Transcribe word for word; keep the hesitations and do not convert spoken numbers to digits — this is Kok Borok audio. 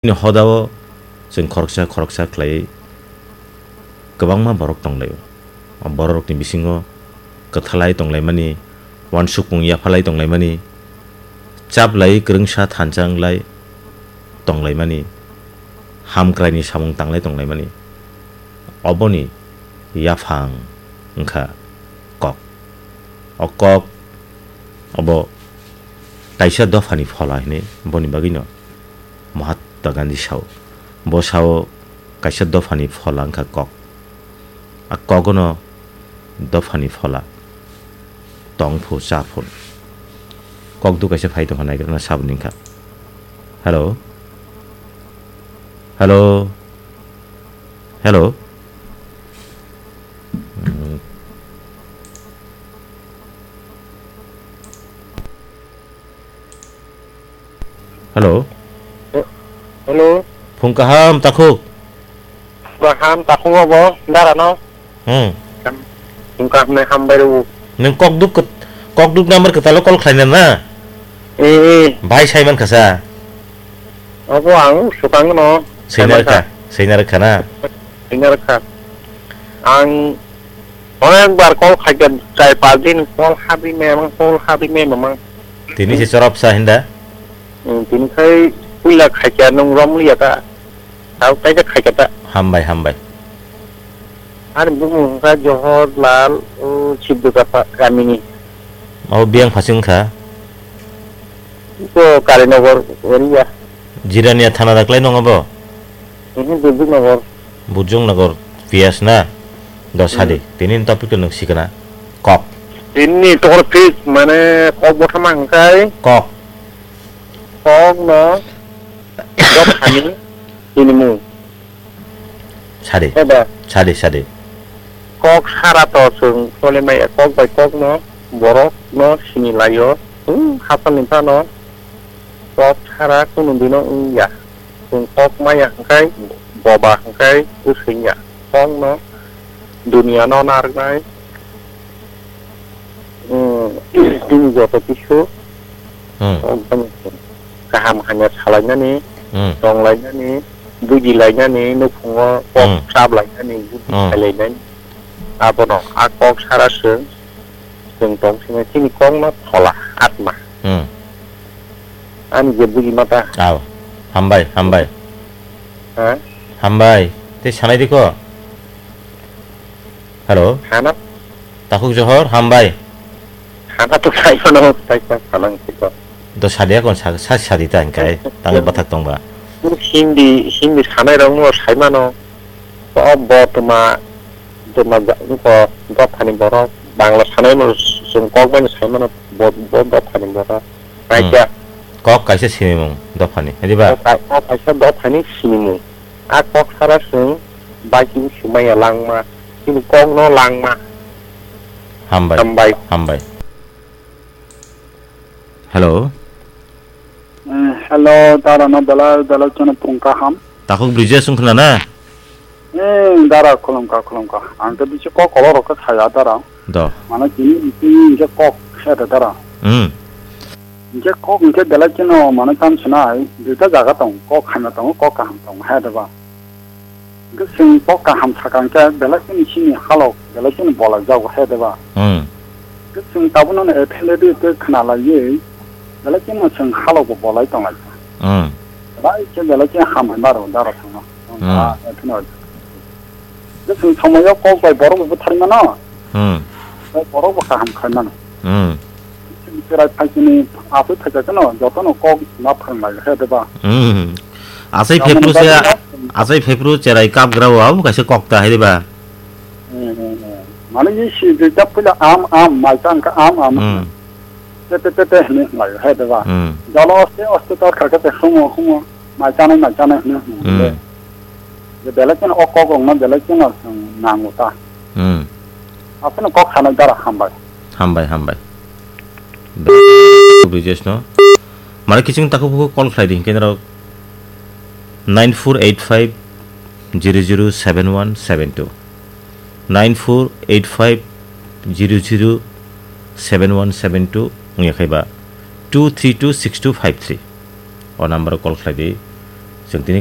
Bini hodao chwng khoroksa khoroksa khlaiwi kwbangma borok tonglaio. O bororokni bisingo kwthalai tonglaimani, uansukmung yaphalai tonglaimani, chaplai kwrwngsa thansa wnglai tonglaimani, hamkraini samung tanglai tonglaimani, oboni yaphang wngkha kok. O kok obo kaisa dophani phola hinwi boni bagwino Mahatma Gandhi sao. Bo sao kaisa dophani phola wngkha kok. A kogono dophani phola tong phu cha phun. Kok du kaisa phai tongkha naikrana saboni wngkha. Hello. Hello. Hello. Hmm. Hello. Hello. Phung kaham takhuk. Kaham takhuk obo dara no. Hmm. Phung kaham nai hambai rw. Nung kok duk kok duk number kwtalo call khlaina na? Eh, eh. Bhai saiman khasa. Obo ang sukang no. Sainar kha, sainar kha na. Sainar kha. Ang Onek bar call khaikha, chai pas din call habi me mang, call habi me mang. Tini se chorop sa hinda? Hmm, tini khai puila khaikha nung rom liya ta. Tau kaisa khaikha ta. Hambai, hambai. Ani bumung wngkha Johor Lal, o Sibdukapa kamini. O biyang phasing kha? Ko Karinagar area. Jirania thana daklai nongo bo? Mhm, Burjuknagar. Burjuknagar P S na? Do sadi. Hmm. Tini ni topic to nung sikana. Kok. Tini ni topic mane kok bothama hwnkhe. Kok. Kok no. Kok hani. Tini mu. Sadi. Eba. Sadi, sadi. Kok sara to chwng solimaya kok bai kok no borok no sini laio. Hmm, hapal ni phano. Kok sara kunu dino wngya. Chwng kok maya hwnkhe boba hwnkhe bwswngya. Kokno duniano narwknai, hmm, chini joto kisu, hmm, kok bani kaham hamya salainani, hmm, tonglainani, bujilainani, nukhungo kok, hmm, chaplainani, buji, hmm, khailainani. Abono a kok sara chwng, chwng tong sini chini kokno phola, atma. Hmm. Ani je buji mata. Aw. Hambai, hambai. Ha? Hambai. Tei sanai di ko? Hello? Hana? Takhuk Johor, hambai. Hana to sai mano, sai sa sanang siko. Do sadia kon sa, sa sadi ta hingkai, tangwi bathak tongba. Hindi, Hindi sanai rok no sai mano. O bo tuma, tuma ja-, ko dophani borok Bangla sanai mano, chwng kok bai sai mano, bo, bo dophani borok. Hmm. Kaisa. Kok kaisa sinimung dophani, diba? Kok ka-, kok kaisa dophani sinimung. A kok sara chwng bai chini simaya langma, chini kok no langma. Hambai. Hambai. Hambai. Hello. Eh, hello, dara no belai, belai chwngno phung kaham. Takhuk Brijesh wng khna na? Eh, dara khulumkha, khulumkha. Ang khe bisi kok kolok rok khe saya dara. Do. Mane tini, tini hingke kok saya da dara. Hmm. Hingke kok hingke belai chwngno mane tam sinai, duita jaga tong, kok hamya tongo, kok kaham tongo, hai da ba. Hingke chwng kok kaham sakha hingke belai chini chini halok, belai chini bolai jago, hai da ba. Hmm. Hingke chwng tabukno no F L A D khe khna laiwi, belai chini chwng halok bo bolai tong lai. Hmm. Belai khe belai chini hambai maro dara thangma. Hmm. Ah, F L A D. Hingke chwng somoyo kok bai borok bo butharwi mano. Hmm. Bai borok bo kaham khai mano. Hmm. Chwng cherai phaisini aswk phaisa kheno jotono kok ma phrwng lai khe de ba. Hmm. Asai Tamoni phepru se, bagwi no. Asai phepru cherai kap grao abo kaisa kok ta hai de ba. Hmm, hmm, hmm. Mane ye si de tap pula am, am, mai tang ka am, am. Hmm. Te, te, te, te, hwnwi lai khe de ba. Hmm. Jalo oste, oste tor kha khe te humo, humo. Mai chanai, mai chanai hwnwi hwnwi Hmm. le. Je belai kheno o kok rokno belai kheno chwng nango ta. Hmm. Aphano kok sanai dara hambai. Hambai, hambai. Brijesh no. Mane kiching takhuk bukhuk call khlai di, hingke norok nine four eight five zero zero seven one seven two. Nine four eight five zero zero seven one seven two wngya khe ba two three two six two five three. O number o call khlai di. Chwng tini